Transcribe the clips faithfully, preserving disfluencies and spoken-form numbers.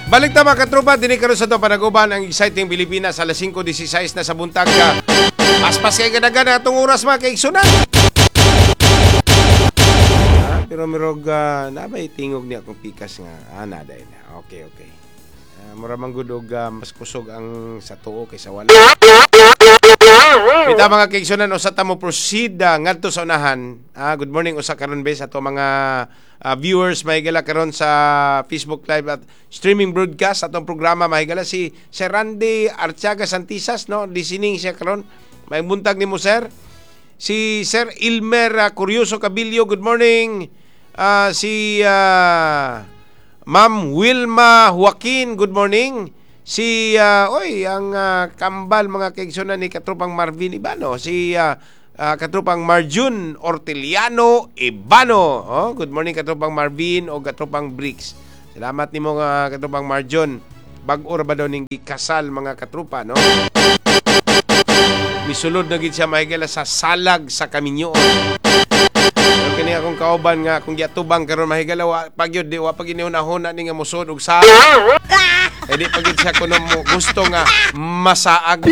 Balik ta, mga katropa, dinhi karon sa ato panaguban ang Exciting Pilipinas, alas singko sesenta y sais na sa buntag. Paspas kay gadagan atong oras, mga kaigsunan. Ah, pero mirog uh, nabay tingog ni akong pikas nga ah naday na. Okay, okay. Uh, mura man gud og ah, mas kusog ang sa tuo kaysa wala. Kita, mga kaigsunan, usa ta mo proceed uh, ngadto sa unahan. Ah, good morning usa karon be sa ato mga ah, viewers, mahigala, karon sa Facebook Live at streaming broadcast atong programa, mahigala, si Sir Randy Artiaga Santisas, no, listening siya karon. May buntag nimo, sir. Si Sir Ilmer ah, Curioso Cabillo, good morning. Ah, si ah, Ma'am Wilma Joaquin, good morning. Si ah, oy, ang ah, kambal, mga kaigsunan, ni Katropang Marvin Ibano, si ah, ah, Katropang Marjun Orteliano Ibano. Oh, good morning, Katropang Marvin o Katropang Bricks. Salamat nimo nga, Katropang Marjun. Bag-o ra ba daw ning gikasal, mga katropa, no? Misulod na gid siya, mahigala, sa salag sa kaminyoon. Pero kini akong kauban nga kung giatubang karon, mahigala, wa pa gyud di wa pa gyud nahuna ni nga musod og sa. Eh di pa gyud siya kuno mo gusto nga masaag.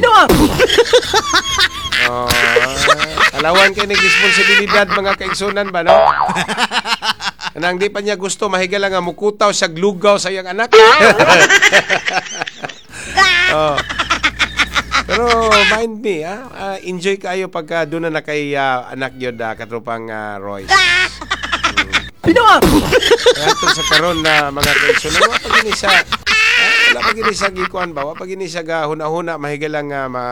Oh, alawan kay nig responsibilidad, mga kaigsunan ba, no? Kanang di pa niya gusto, mahigala, nga mukutaw siya glugaw sa iyang anak. Oh. Pero mind me, ah, ah, enjoy kayo pagka doon na na kay ah, anak yun, ah, Katropang ah, Royce. Pinoa! Kaya ito sa karon na, mga kaigsunan, wa pa gini siya, ah, wala pa gini siya gikuan ba, wa pa gini siya gahuna-huna, mahigala nga ma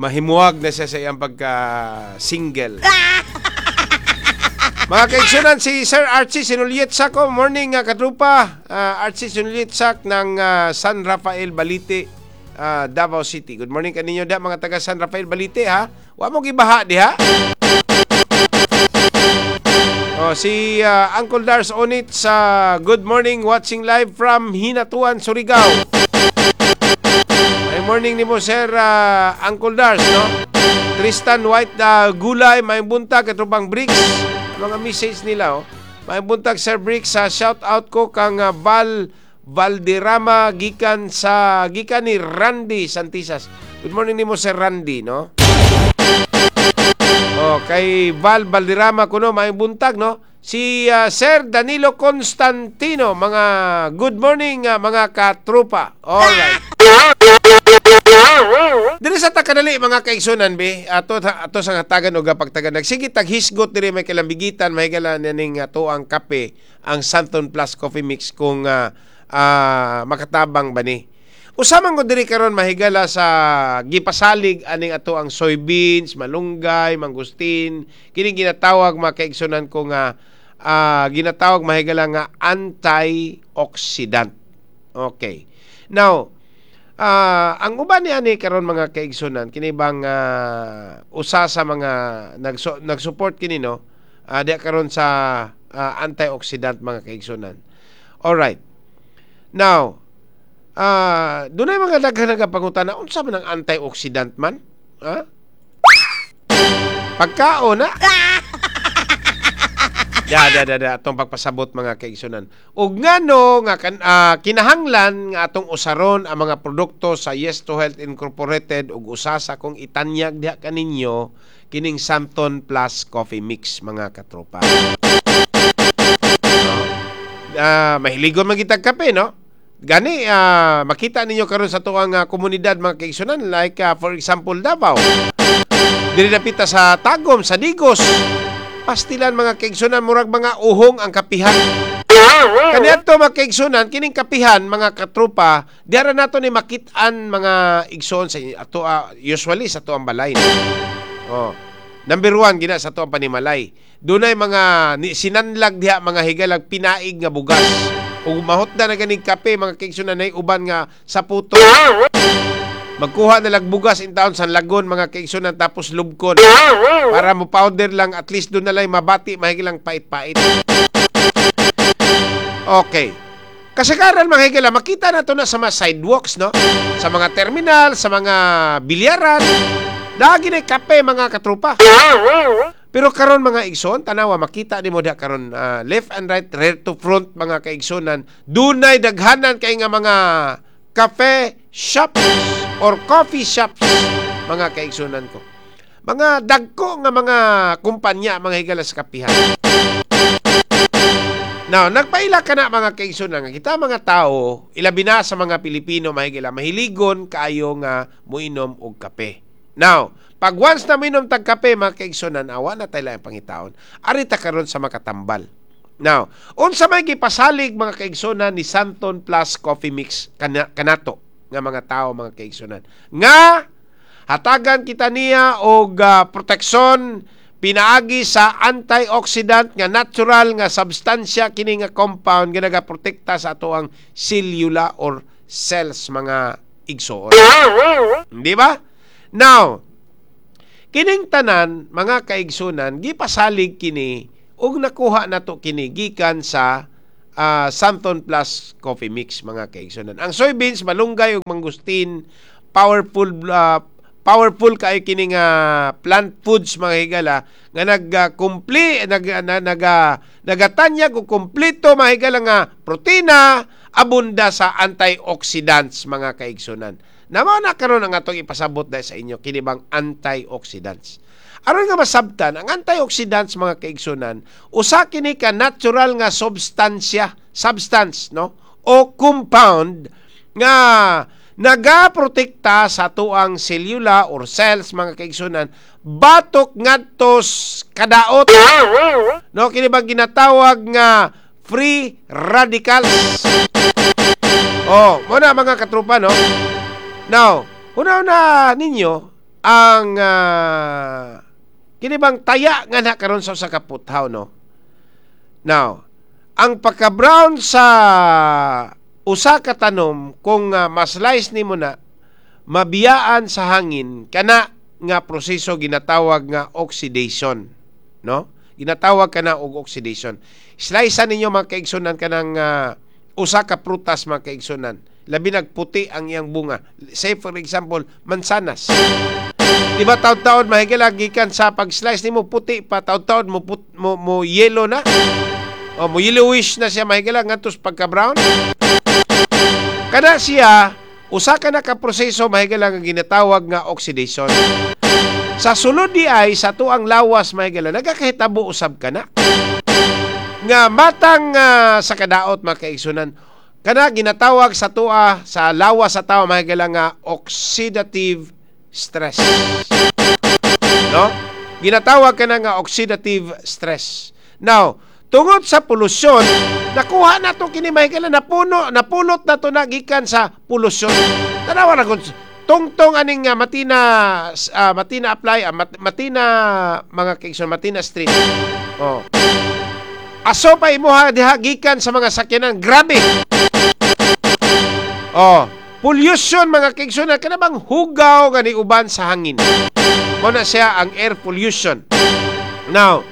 mahimuwag na siya sa iyang pagka single. Mga kaigsunan, si Sir Archie Sinulyetsak ko. Morning, uh, katrupa. Uh, Archie Sinulyetsak ng ah, San Rafael Balite, ah, Davao City. Good morning kaninyo da, mga taga San Rafael Balite, ha. Wa mo gibaha diha. Oh, si ah, Uncle Dars Onit sa good morning, watching live from Hinatuan, Surigao. Ay, morning nimo, Sir ah, Uncle Dars, no? Tristan White uh, Gulay, may buntag, Katropang Bricks. Mga message nila, oh. May buntag, Sir Bricks, sa shout out ko kang ah, Val Valderrama gikan sa gikan ni Randy Santisas. Good morning nimo, Sir Randy, no? Oh, kay Val Valderrama kuno, may buntag, no? Si ah, Sir Danilo Constantino, mga good morning, ah, mga katropa. All right. Dili sa takadali, mga kaigsunan be, ato ato sa hatagan og pagtagan. Nagsige taghisgot diri may kalambigitan, mahigala ning ato ang kape, ang Santon Plus Coffee Mix, kung ah, ah, makatabang ba ni. Usa man ko diri karon, mahigala, sa gipasalig aning ato ang soybeans, malunggay, mangustin, kini ginatawag, mga kaigsunan ko, nga ah, ginatawag, mahigala, nga antioxidant. Okay. Now, Ah, ang uban ni ani karon, mga kaigsunan, kini bang ah, usa sa mga nagsu- nag-support kini, no? Ah, di karon sa ah, antioxidant, mga kaigsunan. All right. Now, ah dunay mga daghan nagapangutana, unsa man ang antioxidant man? Ha? Pagkaon na. Da, da, da, da, atong pagpasabot, mga kaigsunan. Ug ngano nga kan, ah, kinahanglan nga atong usaron ang mga produkto sa Yes to Health Incorporated, ug usa sa kong itanyag diha kaninyo kining Santon Plus Coffee Mix, mga katropa. Ah, mahiligon man kitag kape, no? Gani ah, makita ninyo karon sa tuang ah, komunidad, mga kaigsunan, like ah, for example, Davao. Diri dapita sa Tagum, sa Digos. Pastilan, mga kaigsunan, murag mga uhong ang kapihan. Kaniadto, mga kaigsunan, kining kapihan, mga katropa, diara nato ni makit-an, mga igsoon, sa ato ah, usually sa ato ang balay. No? Oh. Number one, gina sa ato ang panimalay. Dunay mga ni, sinanlag diha, mga higalag pinaig nga bugas. Ug mahutda na ganing kape, mga kaigsunan, nay uban nga sa puto. Magkuha na lag bugas in town sa lagon, mga kaigsunan, tapos lubkon. Para mo powder lang, at least doon na lang mabati mahigilang pait-pait. Okay. Kasagaran, mga higala, makita na to na sa mga sidewalks, no? Sa mga terminal, sa mga bilyaran. Lagi na kape, mga katropa. Pero karon, mga igsoon, tanawa, makita nimo diha karon, ah, left and right, rear to front, mga kaigsunan, dunay daghanan kay nga mga cafe shops or coffee shops, mga kaigsunan ko. Mga dagko nga mga kumpanya, mga higala, sa kapihan. Now, nagpaila ka na, mga kaigsunan, nga kita mga tao, ilabi na sa mga Pilipino, mahigala, mahiligon kaayo nga moinom og kape. Now, pag once na moinom tag kape, mga kaigsunan, awa na tayo ang pangitaon. Ari ta karon sa makatambal. Now, unsa may gipasalig, mga kaigsunan, ni Xanthone Plus Coffee Mix kana, kanato nga mga tao, mga kaigsunan? Nga hatagan kita niya og uh, proteksyon pinaagi sa antioxidant nga natural nga substansya, kini nga compound nga nagaprotekta sa atoang cellular or cells, mga igsoon. Di ba? Now, kining tanan, mga kaigsunan, gipasalig kini ug nakuha nato kini gikan sa uh, Xanthone Plus Coffee Mix, mga kaigsunan. Ang soybeans, malunggay ug mangustin, powerful uh, powerful kaayo kini nga plant foods, mga higala, nga nagkumpli nag na, naga nagatanyag og kumpleto, mga higala, nga protina, abunda sa antioxidants, mga kaigsunan. Na mao na karon ang atong ipasabot dahil sa inyo, kini bang antioxidants. Aron nga masabtan, ang antioxidants, mga kaigsunan, usa kini ka natural nga substansya, substance, no, o compound nga nagaprotekta sa atuang selula or cells, mga kaigsunan, batok ngadto kadaot, no, kini bang ginatawag nga free radicals. Oh, mo na, mga katrupa, no. Now, una-una ninyo ang uh, kini bang taya nga na karon sa usa ka puthaw, no. Now, ang pagka-brown sa usa ka tanom, kung uh, ma-slice nimo na, mabiyaan sa hangin, kana nga proseso ginatawag nga oxidation, no? Ginatawag kana og oxidation. Slice ninyo, mga kaigsunan, kanang uh, usa ka prutas, mga kaigsunan, labi nagputi ang iyang bunga, say for example, mansanas. Di ba taud-taud, mahigala, gikan sa pag-slice nimo puti pa, taud-taud mo, put, mo, mo yellow na o mo yellowish na siya, mahigala, ngadto pagka brown? Kada siya usa ka na ka proseso, mahigala, nga ginatawag nga oxidation. Sa sulod di ay sa tuang lawas, mahigala, nagakahitabo usab kana nga matang uh, sa kadaot, mga kaigsunan. Kana ginatawag sa tua sa lawas sa tawo, mahigala, nga oxidative stress, no? Ginatawag kana nga oxidative stress. Now, tungod sa polusyon, nakuha na to kini, mahigala, napuno napulot na to na gikan sa polusyon. Tanawa na kung tungtong aning uh, Matina uh, Matina apply uh, mat, Matina mga kaigsoon, Matina Street. Oh. Aso pa imuha diha gikan sa mga sakyanan, grabe. Oh, pollution, mga kaigsoon, kana bang hugaw nga uban sa hangin. Mo na siya ang air pollution. Now,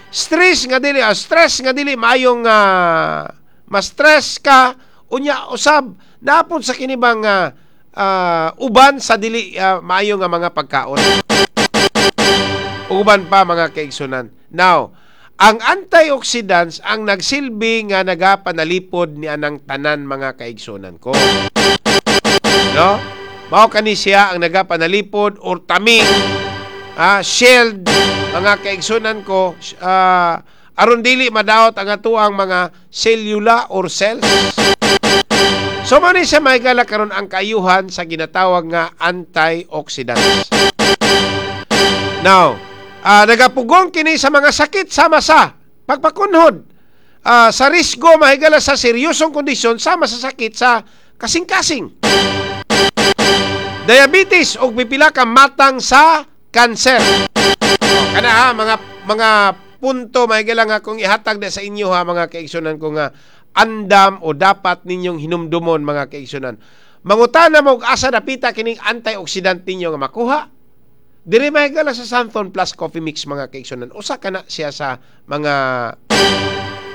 stress nga dili, uh, stress nga dili maayong uh, ma-stress ka unya usab napod sa kini bang uh, uh, uban sa dili uh, maayo nga mga pagkaon. Uban pa, mga kaigsunan. Now, ang antioxidants ang nagsilbi nga nagapanalipod ni anang tanan, mga kaigsunan ko. No? Mao kani siya ang nagapanalipod or taming, ah, shield, mga kaigsunan ko, ah, aron dili madaot ang atuang mga selula or cells. So mao ni siya, mahigala, karon ang kaayuhan sa ginatawag nga antioxidants. Now, uh, nagapugong kini sa mga sakit sama sa pagpakunhod, uh, sa risgo, mahigala, sa seryosong kondisyon sama sa sakit sa kasing-kasing, diabetes ug pipila ka matang sa kanser. O, kana ha, mga mga punto, mahigala, nga kung ihatag na sa inyo ha, mga kaigsunan ko, nga andam o dapat ninyong hinumdumon, mga kaigsunan. Mangutana mo og asa dapita kining antioxidant ninyo nga makuha. Diri, mahigala, sa Xanthone Plus Coffee Mix, mga kaigsunan. Usa kana siya sa mga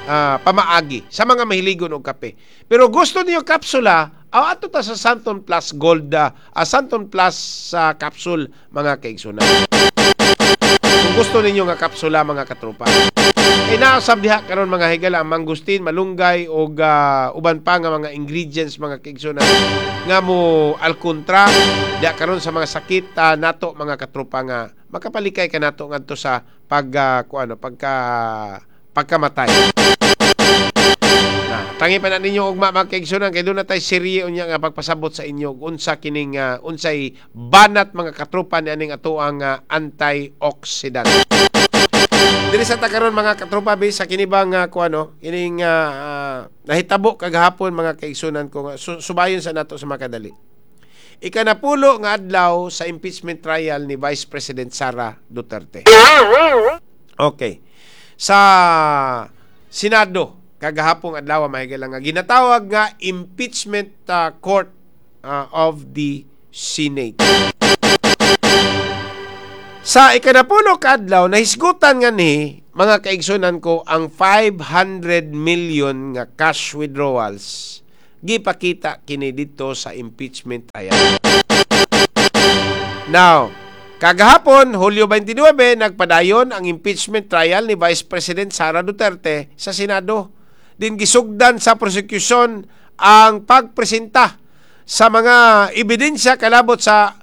uh, pamaagi sa mga mahiligon og kape. Pero gusto niyo kapsula, aw ato ta sa Xanthone Plus Gold, uh, Xanthone Plus sa uh, capsule, mga kaigsunan. Kung gusto ninyo nga kapsula, mga katropa. Kay nausab diha karon, mga higala, ang mangustin, malunggay og ah, uban pa nga mga ingredients, mga kaigsunan, nga mo alkontra diha karon sa mga sakit ah, nato, mga katropa, nga makapalikay ka nato ngadto sa pag uh, kuano, pagka pagkamatay. Na, tangi pa na ninyo ugma, mga kaigsunan, kay doon na tay serye unya nga pagpasabot sa inyo unsa kining uh, unsay banat, mga katropa, ni aning atoang uh, antioxidant. Diri sa ta karon, mga katropa, bi sa kini bang uh, kuano kining uh, uh, nahitabo kagahapon, mga kaigsunan ko, nga su- subayon sa nato sa makadali. Ikanapulo nga adlaw sa impeachment trial ni Vice President Sara Duterte. Okay. Sa Senado kagahapong adlaw, mahigala, nga ginatawag nga impeachment uh, court uh, of the Senate. Sa ikanapulo ka adlaw, nahisgutan nga ni, mga kaigsunan ko, ang five hundred million nga cash withdrawals gipakita kini dito sa impeachment trial. Now, kagahapon, Hulyo twenty-nine, nagpadayon ang impeachment trial ni Vice President Sara Duterte sa Senado. Din gisugdan sa prosecution ang pagpresenta sa mga ebidensya kalabot sa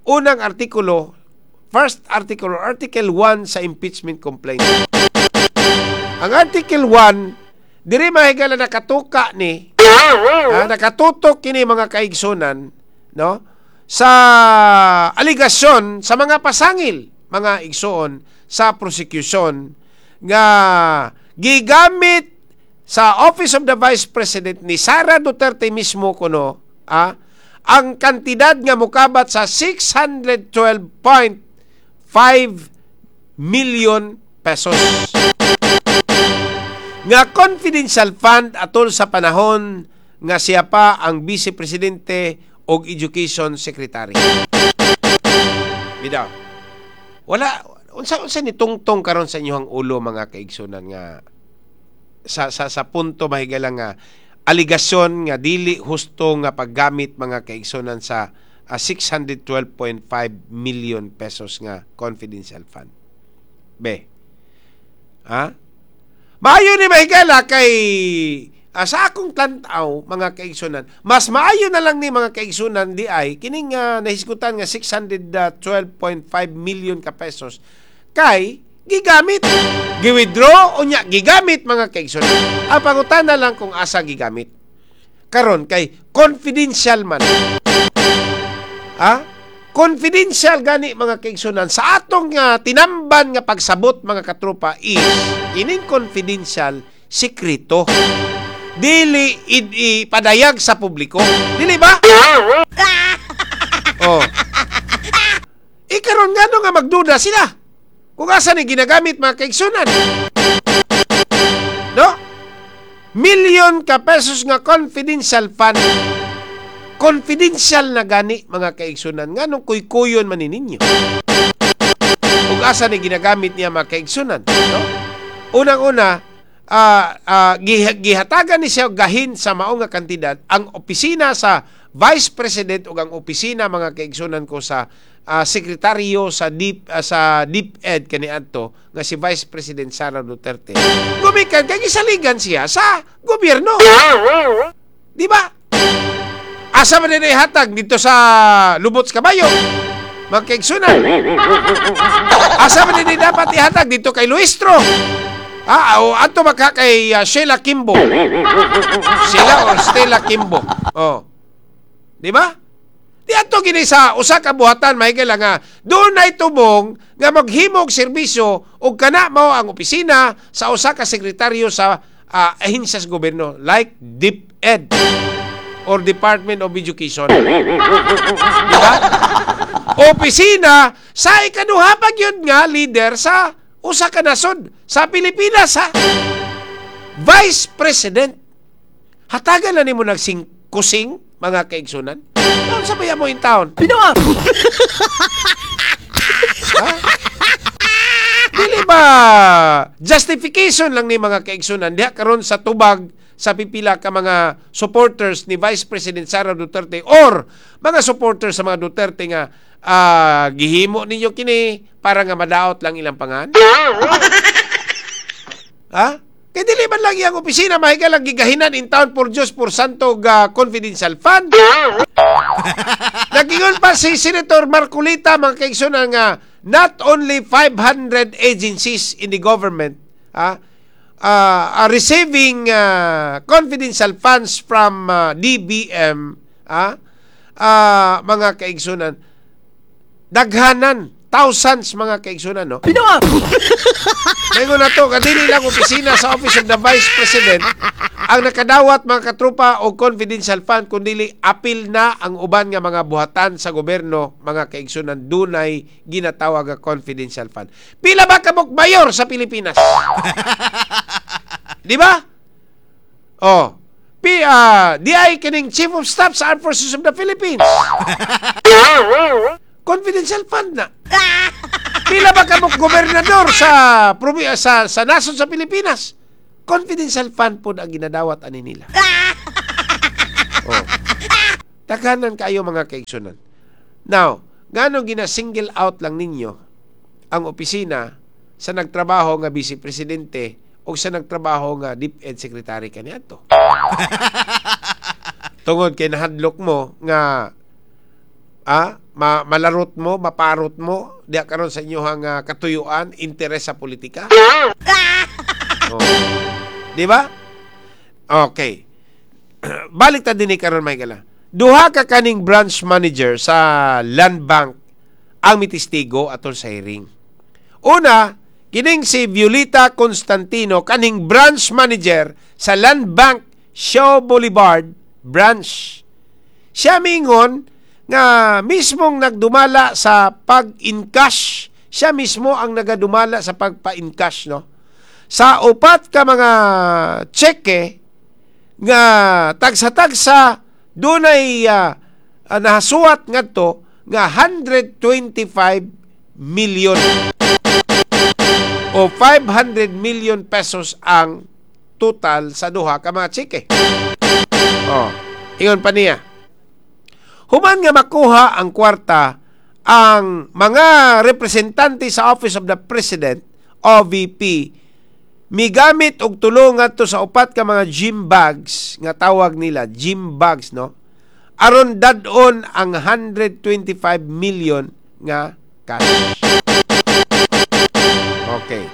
unang artikulo, first article or Article one sa impeachment complaint. Ang Article one, diri, mahigala, nakatuka ni, ah, nakatutok kini, mga kaigsunan, no? Sa aligasyon sa mga pasangil, mga igsoon, sa prosecution nga gigamit sa Office of the Vice President ni Sara Duterte mismo kuno, ah, ang kantidad nga mukabat sa six hundred twelve point five million pesos nga confidential fund atol sa panahon nga siya pa ang Vice Presidente og Education Secretary. Bidaw. Wala unsa unsa ni tungtong karon sa inyong ulo, mga kaigsunan, nga sa sa sa punto, mahigala, nga aligasyon nga dili husto nga paggamit, mga kaigsunan, sa uh, six hundred twelve point five million pesos nga confidential fund? Be. Ha? Maayo ni, mahigala, kay uh, sa akong tan-aw, mga kaigsunan, mas maayo na lang ni, mga kaigsunan, di ay kining uh, nahisgutan nga six hundred twelve point five million ka pesos kay gigamit, gi-withdraw unya gigamit, mga kaigsunan. Ang pangutana lang kung asa gigamit. Karon kay confidential man. Ha? Confidential gani, mga kaigsunan, sa atong uh, tinamban nga pagsabot, mga katropa, is ining confidential, sekreto. Dili ipadayag sa publiko. Dili ba? Oh. Ikaron nga nga magduda sila kung asa ni ginagamit, mga kaigsunan. No? Million ka pesos nga confidential fund. Confidential na gani, mga kaigsunan. Nganong kuykuyon man ninyo kung asa ni ginagamit niya, mga kaigsunan, no? Unang-una, uh, uh, gihatagan ni siya gahin sa mao nga kantidad ang opisina sa Vice President ug ang opisina, mga kaigsunan ko, sa uh, sekretaryo sa Deep uh, sa DepEd kaniadto nga si Vice President Sara Duterte. Gumikan kay gisaligan siya sa gobyerno. Di ba? Asa man din hatag dito sa lubot sa kabayo, mga kaigsunan? Asa man din dapat ihatag dito kay Luistro? Ah, o adto maka kay uh, Sheila Kimbo. Sheila or Stella Kimbo. Oh. Di ba? Di adto gini sa usa ka buhatan, mahigala, nga dunay tubong nga maghimog serbisyo ug kana mao ang opisina sa usa ka sekretaryo sa uh, ahensya sa gobyerno like DepEd or Department of Education. Di ba? Opisina sa ikaduha pa gyud nga leader sa usa ka nasod sa Pilipinas, ha. Vice President. Hatagan na nimo nagsing kusing, mga kaigsunan. Unsa ba mo in town? Binuang! Ha? Dili ba justification lang ni, mga kaigsunan, diha karon sa tubag sa pipila ka mga supporters ni Vice President Sara Duterte or mga supporters sa mga Duterte nga ah, gihimo ninyo kini para nga madaot lang ilang pangan? Ha? Kay dili man lang iyang opisina, mahigala, gigahinan in town por Diyos por Santo ga confidential fund. Nagingon pa si Senator Marcoleta, mga kaigsunan, nga not only five hundred agencies in the government ah, uh, are receiving uh, confidential funds from uh, D B M, ah, ah, mga kaigsunan, daghanan, thousands, mga kaigsunan, no? Binuang! Ngayon na to, kadili lang opisina sa Office of the Vice President ang nakadawat, mga katropa, og confidential fund, kundi apil na ang uban nga mga buhatan sa gobyerno, mga kaigsunan, dunay ginatawag nga confidential fund. Pila ba kabuk mayor sa Pilipinas? Di ba? Oh. Pi uh, di ay kining Chief of Staff sa Armed Forces of the Philippines. Confidential fund na. Pila ba kabuk gobernador sa probi- sa sa nasod sa Pilipinas? Confidential fund pod ang ginadawat ani nila. Oh. Daghanan kayo, mga kaigsunan. Now, ngano gina-single out lang ninyo ang opisina sa nagtrabaho nga vice presidente o sa nagtrabaho nga DepEd secretary kaniadto? Tungod kay nahadlok mo nga ah, ma malarot mo, maparot mo diya karon sa inyong uh, katuyuan, interes sa politika. Oh. Di ba? Okay. Balik ta dinhi karon, may gala. Duha ka kaning branch manager sa Land Bank ang mitestigo atol sa hearing. Una, kining si Violeta Constantino, kaning branch manager sa Land Bank Shaw Boulevard branch. Siya mingon nga mismong nagdumala sa pag-encash. Siya mismo ang nagadumala sa pagpa-encash, no? Sa upat ka mga tseke nga tagsa-tagsa dunay uh, uh, nahasuwat ngadto nga one hundred twenty-five million o five hundred million pesos ang total sa duha ka mga tseke. Oh, ingon pa niya. Human nga makuha ang kwarta, ang mga representante sa Office of the President, O V P, migamit og tulong ngadto sa upat ka mga gym bags nga tawag nila, gym bags, no, aron dad-on ang one hundred twenty-five million nga cash. Okay.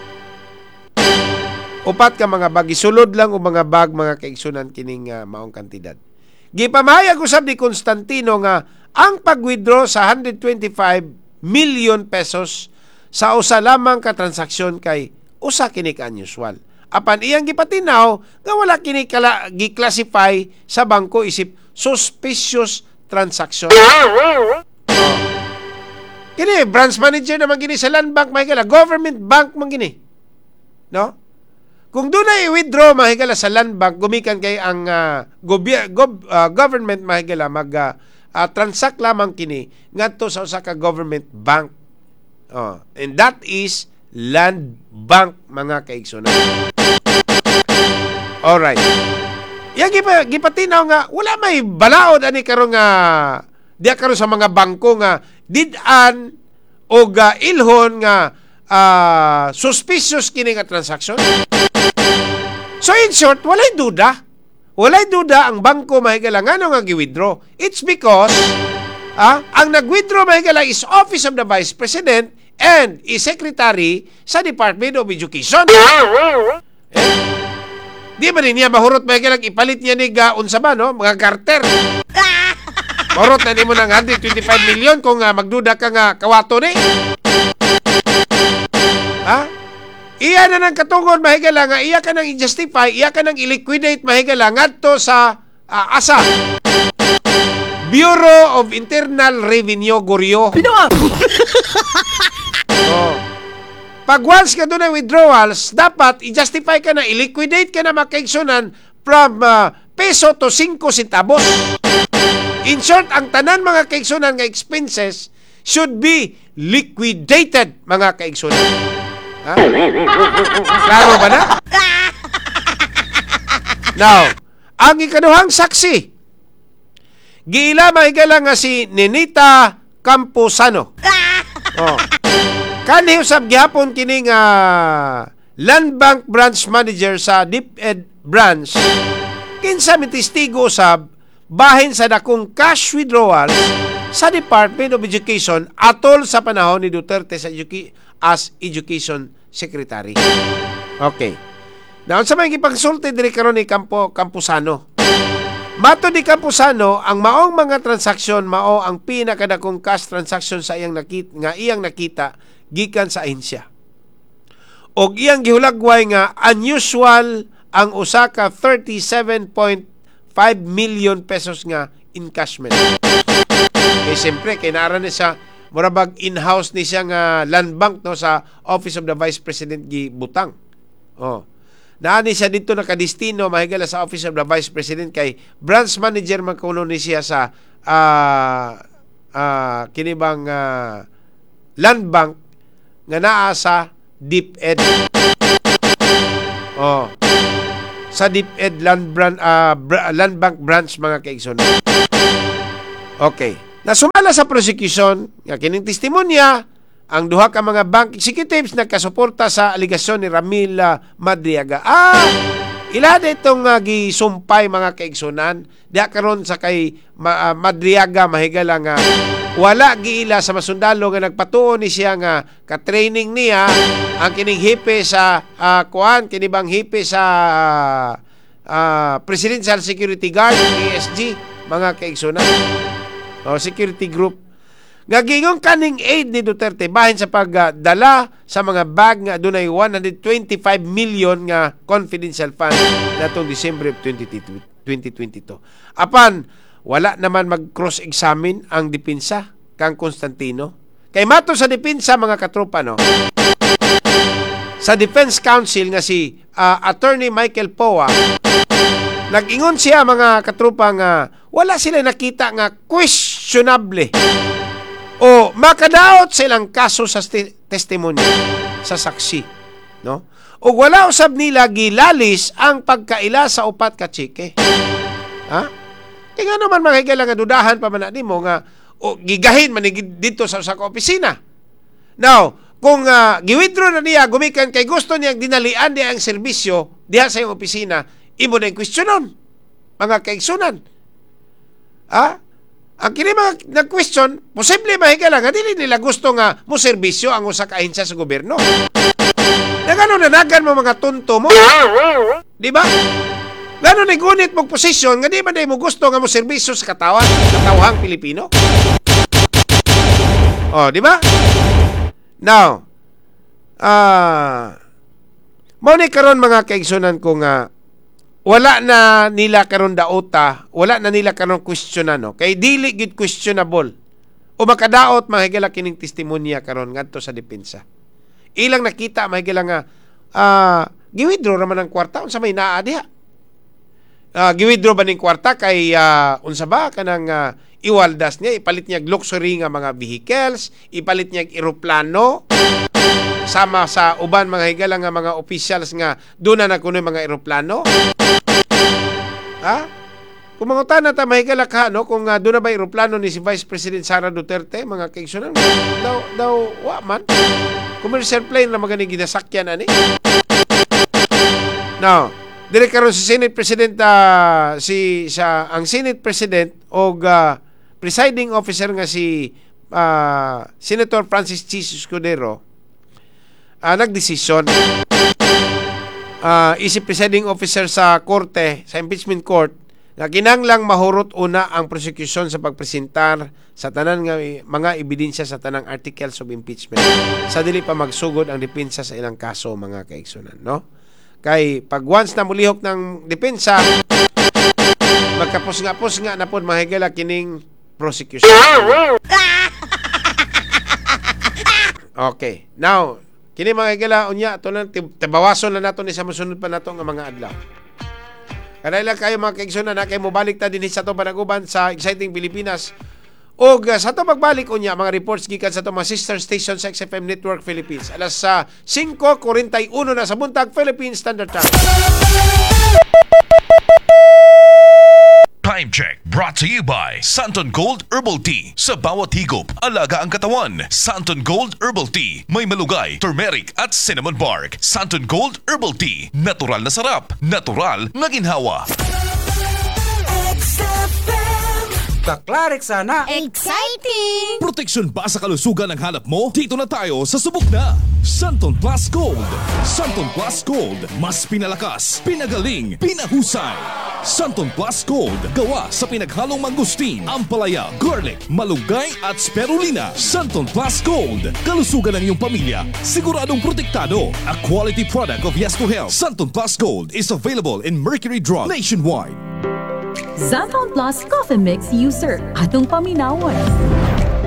Upat ka mga bag, isulod lang og mga bag, mga kaigsunan, kining uh, maong kantidad. Gipamahayag usab ni Constantino nga ang pag-withdraw sa one hundred twenty-five million pesos sa usa lamang ka transaksyon kay usa kini ka unusual. Apan iyang gipatinaw nga wala kini kala, gi-classify sa bangko isip suspicious transaction. Oh. Kini branch manager naman gini sa Land Bank, mahigala, government bank man gini. No? Kung doon i-withdraw, mahigala, sa Land Bank, gumikan kay ang uh, goby- gob- uh, government, mahigala, mag uh, uh, transact lamang kini ngadto sa usa ka government bank. Oh, and that is Land Bank, mga kaigsunan. Alright. Yang gipa, gipatinaw nga wala may balaod ani karon nga diya karon sa mga bangko nga did-an o uh, ilhon nga uh, suspicious kini nga transaction. So in short, walay duda. Walay duda ang bangko, mahigala, ngano nga gi-withdraw. It's because ah, ang nag-withdraw, mahigala, is Office of the Vice President and is Secretary sa Department of Education. Eh, di ba niya mahurot, mahigala, ipalit niya ni ga unsa ba, no, mga garter? Mahurot na nimo ng one hundred twenty-five million kung uh, magduda ka nga kawato ni. Ha? Iya na ng katungod, mahigala, nga iya ka nang i-justify, iya ka nang i-liquidate, mahigala, ngadto sa uh, asa Bureau of Internal Revenue, Goryo. Binuang! Oh. Pag once ka doon ng withdrawals, dapat i-justify ka na, i-liquidate ka na, makaigsunan, from uh, peso to five centavos. In short, ang tanan, mga kaigsunan, nga expenses should be liquidated, mga kaigsunan. Ha? Klaro ba na? Now, ang ikaduhang saksi, giila, mga higala, nga si Nenita Camposano. Oh. Kanhi usab gihapon kini nga Land Bank branch manager sa DepEd branch, kinsa mitestigo usab bahin sa dakong cash withdrawals sa Department of Education atol sa panahon ni Duterte sa educa- as Education Secretary. Okay. Now, sa may gipagsulti diri karon ni Campo Camposano. Matod ni Camposano, ang maong mga transaksyon mao ang pinakadakong cash transaction sa iyang nakita, nga iyang nakita gikan sa ahensya. Og iyang gihulagway nga unusual ang usa ka thirty-seven point five million pesos nga encashment. Eh siyempre kay naara ni siya, mura bag in-house ni siya nga land bank, no, sa Office of the Vice President gibutang. Oh. Naa ni siya dito nakadestino, mahigala, sa Office of the Vice President kay branch manager man kuno ni siya sa ah ah kini bang ah, land bank nga naa sa DepEd. Oh. Sa DepEd Land, Brand, ah, bra- Land Bank branch, mga kaigsoon. Okay. Nasumala sa prosecution nga kining testimonya, ang duha ka mga bank executives, nagkasuporta sa alegasyon ni Ramil ah, Madriaga. Ah, ila itong uh, gisumpay, mga kaigsunan, diha karon sa kay Ma, ah, Madriaga, mahigala, nga wala giila sa masundalo nga nagpatuo ni siya nga ka-training niya ang kining hepe sa uh, kuan, kini bang hepe sa ah, Presidential Security Guard, P S G, mga kaigsunan, o security group, nga giingon kaning aide ni Duterte bahin sa pagdala sa mga bag nga adunay one hundred twenty-five million nga confidential fund natong December of twenty twenty-two. Apan wala naman mag cross-examine ang depensa kang Constantino. Kay matod sa depensa, mga katropa, no, sa Defense Counsel nga si ah, Attorney Michael Poa, nag-ingon siya, mga katropa, nga wala sila nakita nga questionable o makadaot sa ilang kaso sa sti- testimonya sa saksi, no, ug wala usab nila gilalis ang pagkaila sa upat ka tseke, ha. Kaya nga naman, mga higala, nga dudahan pa man na nimo nga o gigahin man ni dito sa usa ka opisina. Now, kung uh, gi-withdraw na niya gumikan kay gusto niya dinalian niya ang serbisyo diha sa iyong opisina, imo na yung questionon, mga kaigsunan. Ah? Ang kini mga nag-question, posible, mahigala, nga dili nila gusto nga mo serbisyo ang usa ka ahensya sa gobyerno. Na gano'n nanagan mo mga tunto mo. Di ba? Gano'n ni gunit mong posisyon nga di ba mo gusto nga mo serbisyo sa katawan, katawhang Pilipino? Oh, di ba? Now, ah, mao ni karon, mga kaigsunan ko, nga wala na nila karon dauta, wala na nila karon question, ano, kay dili gid questionable o makadaot, mga higala, kining testimonya karon ngadto sa depensa. Ilang nakita, mga higala, nga ah gi-withdraw raman ang kwarta, unsa may naa diha? Uh, gi-withdraw ba ning kwarta kay ah, unsa ba kanang ah, iwaldas niya, ipalit niya og luxury nga mga vehicles, ipalit niya og eroplano sama sa uban, mga higala, nga mga officials nga doon na na kuno mga eroplano? Ha? Kung mangutana ta, mahigala ka, no, kung uh, doon na ba eroplano ni si Vice President Sara Duterte, mga kaigsunan, daw, daw, wa man. Commercial plane na magani ginasakyan ani. Now, dire karon si Senate President ah, si sa ang Senate President og ah, presiding officer nga si ah, Senator Francis Chiz Escudero uh, nagdesisyon uh, isip presiding officer sa korte, sa impeachment court, nga kinanglang mahurot una ang prosecution sa pagpresentar sa tanan nga mga ebidensya sa tanang articles of impeachment sa dili pa magsugod ang depensa sa ilang kaso, mga kaigsunan, no, kay pag once na mulihok ng depensa, magkapos nga pos nga na pod, mga higala, kining prosecution. Okay, now kini, mga higala, unya ato lang tibawason na nato ni sa mosunod pa nato nga mga adlaw. Kanay lang kayo, mga kaigsunan, na kay mobalik ta dinhi sa ato panaguban sa Exciting Pilipinas. Og uh, sa ato pagbalik unya, mga reports gikan sa ato mga sister station sa X F M Network Philippines. Alas sa uh, singko kuwarenta y uno na sa buntag, Philippine Standard Time. Time check brought to you by Santon Gold Herbal Tea. Sa bawat higop, alaga ang katawan. Santon Gold Herbal Tea. May malunggay, turmeric at cinnamon bark. Santon Gold Herbal Tea. Natural na sarap, natural na ginhawa. X F M. Kaklarik sana. Exciting! Proteksyon ba sa kalusugan ang hanap mo? Dito na tayo sa subok na! Santon Plus Gold! Santon Plus Gold. Mas pinalakas, pinagaling, pinahusay! Santon Plus Gold. Gawa sa pinaghalong mangosteen, ampalaya, garlic, malunggay at spirulina. Santon Plus Gold. Kalusugan ng iyong pamilya, siguradong protektado. A quality product of Yes to Health. Santon Plus Gold is available in Mercury Drug nationwide. Xanthone Plus Coffee Mix user. Atong paminawon.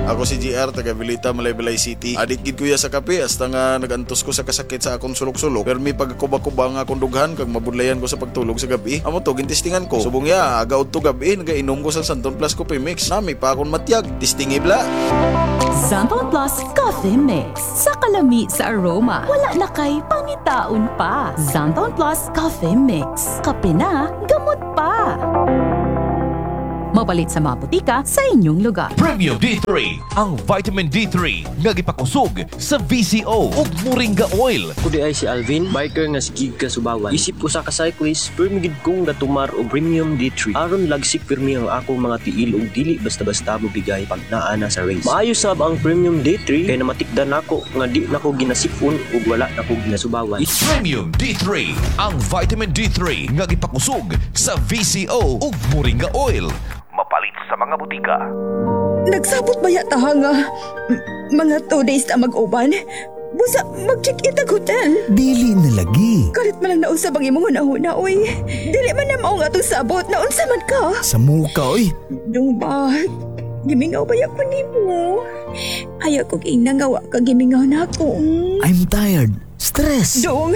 Ako si G R, taga Vilita, Malaybalay City. Adik gid kuya sa kape, hasta nga nagantos ko sa kasakit sa akong sulok-sulok. Pero may pagkuba-kuba nga akong dughan, kag mabudlayan ko sa pagtulog sa gabi. Amo to, gintistingan ko. Subong ya, aga udto gabi, nagainom ko sa Santon Plus Coffee Mix. Nami pa akong matyag, tistingi bla. Xanthone Plus Coffee Mix. Sa kalami sa aroma, wala na kay pangitaon pa. Xanthone Plus Coffee Mix. Kape na, gamot pa. Mapalit sa mga botika sa inyong lugar. Premium D three, ang vitamin D three nga gipakusog sa V C O ug Moringa oil. Ako diay si Alvin, biker nga sige kasubawan. Isip usa ka cyclist, pirmi gid kong gatumar og Premium D three. Aron lagsik pirmi ang akong mga tiil ug dili basta-basta mobigay pag naa na sa race. Maayo sab ang Premium D three kay namatikdan nako nga di nako ginasipon ug wala nako ginasubawan. Premium D three, ang vitamin D three nga gipakusog sa V C O ug Moringa oil. Mapalit sa mga butika. Nagsabot ba yata nga m- mga two days na mag-uban? Busa, mag-check-in tag hotel. Dili na lagi. Kalit man lang nausab ang imong hunahuna, uy. Dili man na mao nga atong sabot, naunsa man ka? Sa muka, oy. Dong ba, gimingaw ba ko nimo? Ayaw ko ingna nga wa ka gimingaw na ako. Mm. I'm tired. Stress. Dong,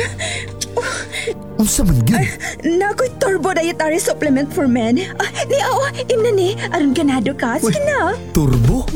Unsa man gyud? Naa ko'y Turbo Dietary Supplement for Men. Ah, ni, oo, imna ni, aron ganado ka. Sige na. Turbo?